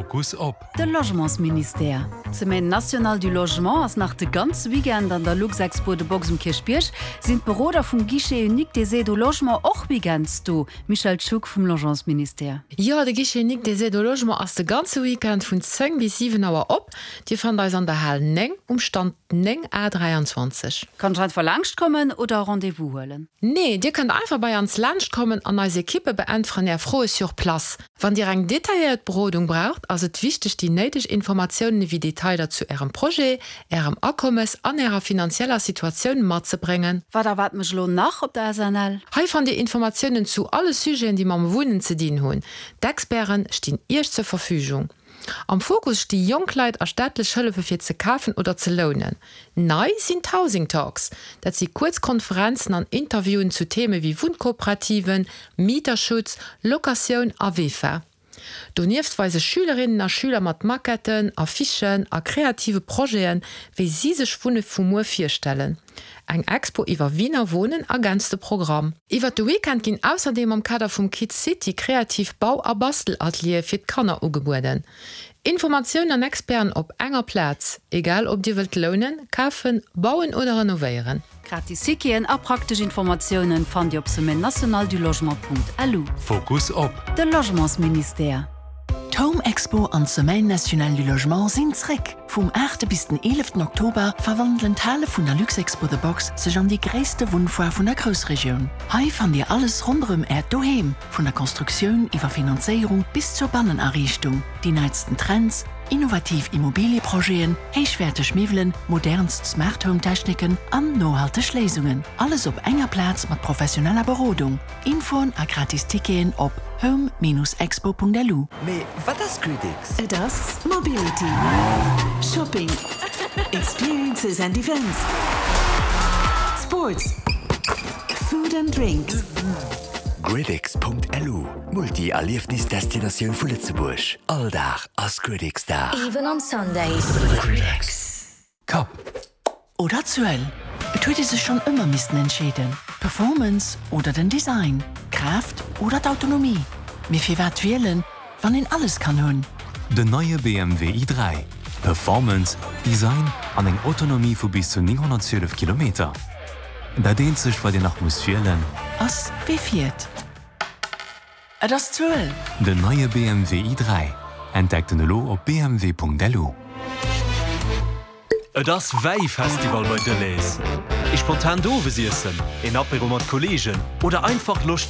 Fokus op. De Logementsministère. D'Semaine nationale du logement ass nach de ganze Weekend an der Luxexpo The Box um Kierchbierg. Sinn d'Beroder vum Guichet unique des aides au logement och weekends do? Michèle Schug vum Logementsministère. Jo, de Guichet unique des aides au logement ass de ganze Weekend vun 10 bis 7 Auer op. Dir fannt eis an der Hal 9 um Stand 9 A 23. Kann ech einfach laanscht kommen oder e Rendez-vous huelen? Nee, dir kënnt einfach bei ans laanscht kommen an eis Ekippe beäntweren är Froe sur place. Wann Dir eng detailléiert Berodung braucht, ass et wichteg déi néideg Informatiounen ewéi Detailer zu Ärem Projet, Ärem Akommes an Ärer finanzieller Situatioun matzebréngen. Wat erwaart mech elo nach op der SNL? Hei fannt Dir Informatiounen zu alle Sujeten, déi mam Wunnen ze dinn hunn. D'Experten stinn Iech zur Verfügung. Am Fokus sti jonk Leit a staatlech Hëllefe fir ze kafen oder ze lounen. Nei sinn d'Housing Talks. Dat si kuerz Konferenzen an Interviewen zu Theme wéi Wunnkooperativen, Mieterschutz, Locatioun a VEFA. Donieft weise Schülerinnen a Schüler mat Maquetten, Affichen a kreative Projeten, wéi si sech Wunne vu muer virstellen. Eng Expo iwwer Wiener Wohnen ergänzt de Programm. Iwwer de Weekend ginn ausserdeem am Kader vum Kids City kreativ Bau a Bastelateliere fir d'Kanner ugebueden. Informatiounen an Experten op enger Plaz, egal ob dir wëllt lounen, kafen, bauen oder renovéieren. Gratis Ticketen a praktesch Informatiounen fannt Dir op semaine-nationale-du-logement.lu. Fokus op. De Logementsministère. D'Home Expo an d'Semaine nationale du logement sinn zréck! Vum 8 bis den 11 Oktober verwandelen d'Hale vun der Luxexpo The Box sech an déi gréisste Wunnfoire vun der Groussregioun. Hei fannt Dir alles ronderëm Äert Doheem, vun der Constructioun iwwer Finanzéierung bis zur Bannenariichtung, déi neitsten Trends, innovativ Immobilieprojeten, héichwäerteg Miwwelen, modernst Smart Home Techniken an nohalteg Léisungen. Alles op enger Plaz mat professioneller Berodung. Infoen a gratis Ticketen op home-expo.lu. Mee wat ass GridX? Et ass Mobility, Shopping, Experiences and Events, Sports, Food and Drinks. GridX.lu, Multi-Erliefnis-Destinatioun vu Lëtzebuerg. All Dag ass GridX-Dag. Even on Sundays. GridX. Kapp oder Zuel? Et huet ee sech schonn ëmmer missten entscheeden, d'Performance oder den Design, d'Kraaft oder d'Autonomie. Mee firwat wielen, wann een alles kann hunn? Den neie BMW i3, Performance, Design an eng Autonomie vu bis zu 912 Kilometer. Dat eenzegt wat een nach muss wielen. Ass wee fiert. Et ass d'Zuel! Den neie BMW i3, entdeckt en elo op bmw.lu. Et ass Wäifestival bei Delhaize. Ee spontant Owesiessen, een Apéro mat Kolleegen oder einfach Loscht.